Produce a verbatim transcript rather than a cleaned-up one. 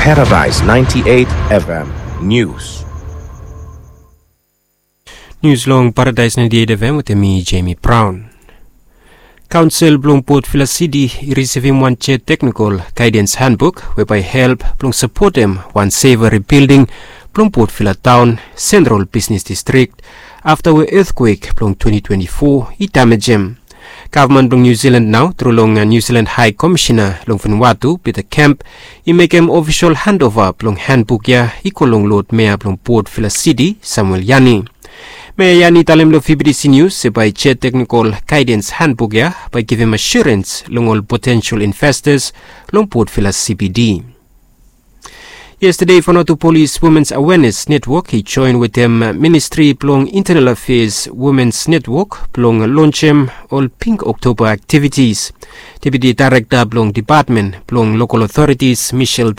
Paradise ninety-eight F M News. Nius long Paradise ninety-eight F M wetem mi, Jamie Brown. Kaonsel blong Port Vila City i risivim wan Chair Technical Guidance Handbook we bae i help blong sapotem wan saver rebuilding blong Port Vila Taon, Sentral Bisnes Distrik, afta we etkwek blong twenty twenty-four i damejem. Gavman blong Niu Silan nao tru long Niu Silan Hae Komishena long Vanuatu, Peter Kemp, i mekem ofisol handova blong handbuk ya i go long Lod Mea blong Port Vila City, Samuel Yani. Mea Yani i talem long V B T C Nius se bae Chair Technical Guidance Handbuk ya bae i givim asurens long ol potensol investas long Port Vila C B D. Yestade Vanuatu Polis Womens Awenes Netwok i joen wetem Ministri blong Intenal Afeas Womens Netwok blong lonjem ol Pink Oktoba aktivitis. Deputi Daerekta blong Depatmen blong Lokol Otoritis, Michelle